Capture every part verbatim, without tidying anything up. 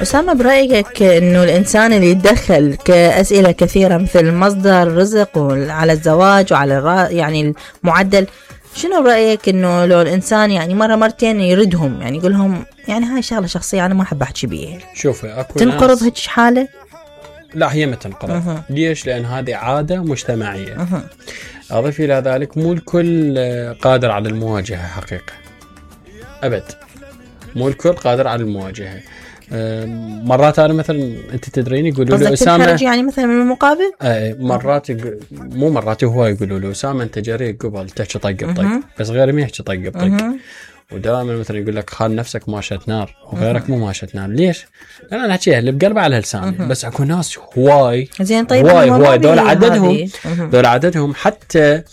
أسامة، برأيك إنه الإنسان اللي يتدخل كأسئلة كثيرة مثل مصدر رزق وعلى الزواج وعلى الرا يعني المعدل، شنو برأيك إنه لو الإنسان يعني مرة مرتين يردهم، يعني يقولهم يعني هاي شغلة شخصية أنا ما أحب أحكي بيها، شوفي أكو تنقرض هيك حالة؟ لا، هي ما تنقرض. ليش؟ لأن هذه عادة مجتمعية. أه. أضيف إلى ذلك مو الكل قادر على المواجهة حقيقة، أبد مو الكل قادر على المواجهة. مرات أنا مثلا أنت تدرين يقولوا له أسامة يعني مثلا من المقابل، آه مرات يق... مو مرات هو يقولوا له أسامة أنت جريء قبل تحكي طق بطق، بس غير ما يحكي طق بطق. ودائما مثلا يقول لك خال نفسك ماشت نار وغيرك مو ماشت نار. ليش؟ انا نحكيها اللي بقلبه على لساني، بس اكو ناس هواي زين. طيب هواي هواي دول عددهم دول عددهم حتى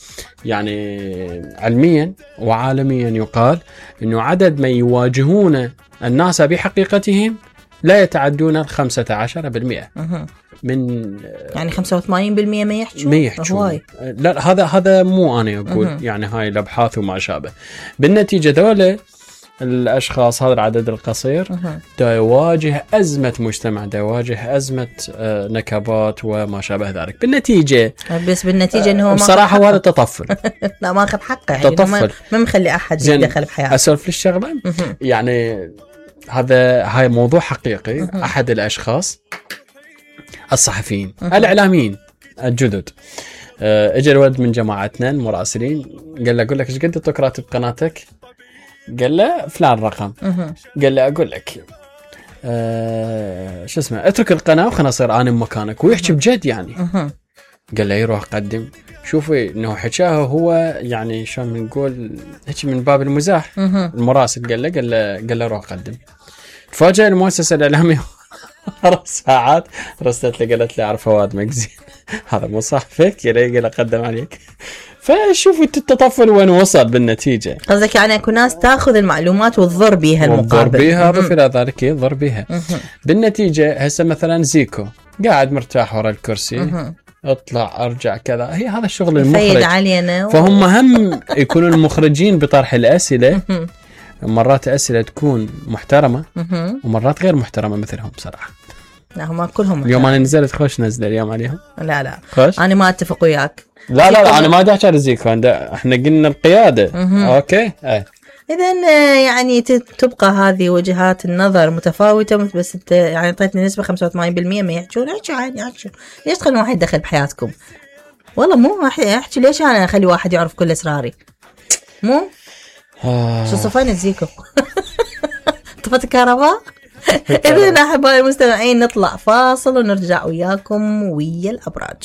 يعني علميا وعالميا يقال انه عدد من يواجهون الناس بحقيقتهم لا يتعدون الخمسة عشر بالمئة من يعني خمسة وثمانين بالمئة ما يحجون ما يحجون. لا، هذا هذا مو أنا أقول، أه. يعني هاي الأبحاث وما شابه. بالنتيجة دولة الأشخاص هذا العدد القصير أه. دا يواجه أزمة مجتمع، دا يواجه أزمة نكبات وما شابه ذلك. بالنتيجة بس بالنتيجة إنه بصراحة هذا تطفل. لا، ما أخذ حقه، يعني تطفل، ما مخلي أحد يدخل بحياته. أسولف للشغلة يعني هذا هاي موضوع حقيقي. أه. أحد الأشخاص الصحفيين أه. الإعلاميين الجدد أه اجى الولد من جماعتنا المراسلين قال له أقول لك ايش قد تقرأت بقناتك؟ قال له فلان رقم. أه. قال له أقول لك أه شو اسمه اترك القناة وخلنا أصير أنا مكانك، ويحكي بجد يعني. أه. قال له يروح قدم. شوفي انه حكاه هو يعني شلون بنقول هيك من باب المزاح. أه. المراسل قال له قال له قال له روح قدم. تفاجأ المؤسسة الإعلامية أربع ساعات رسلت لي قالت لي أعرف فواد مجزين هذا مو صاحبك يلي قال أقدم عليك. فشوفوا التطفل وين وصل بالنتيجة. قصدك يعني أكو ناس تأخذ المعلومات وتضر بيها المقابل، وتضر بيها ضف إلى ذلك يضر بيها. بالنتيجة هسه مثلا زيكو قاعد مرتاح ورا الكرسي، اطلع ارجع كذا، هي هذا الشغل المخرج. فهم هم يكونوا المخرجين بطرح الأسئلة. مرات أسئلة تكون محترمة ومرات غير محترمة مثلهم بصراحة. لا، هم كلهم اليوم أنا نزلت خوش نزل اليوم عليهم. لا لا خوش. أنا ما أتفق وياك. لا لا, لا أنا ما داعي على زيكو، احنا قلنا القيادة. أوكي. أي. إذن يعني تبقى هذه وجهات النظر متفاوتة، بس انت يعني اعطيتني نسبة خمسة وثمانين بالمئة ما يحجون. احكي عادي، احكي ليش تخلون واحد يدخل بحياتكم؟ والله مو احكي ليش انا اخلي واحد يعرف كل اسراري؟ مو شو صفين الزيكو طفت الكهرباء. إذن أحبائي المستمعين نطلع فاصل ونرجع وياكم ويا الأبراج.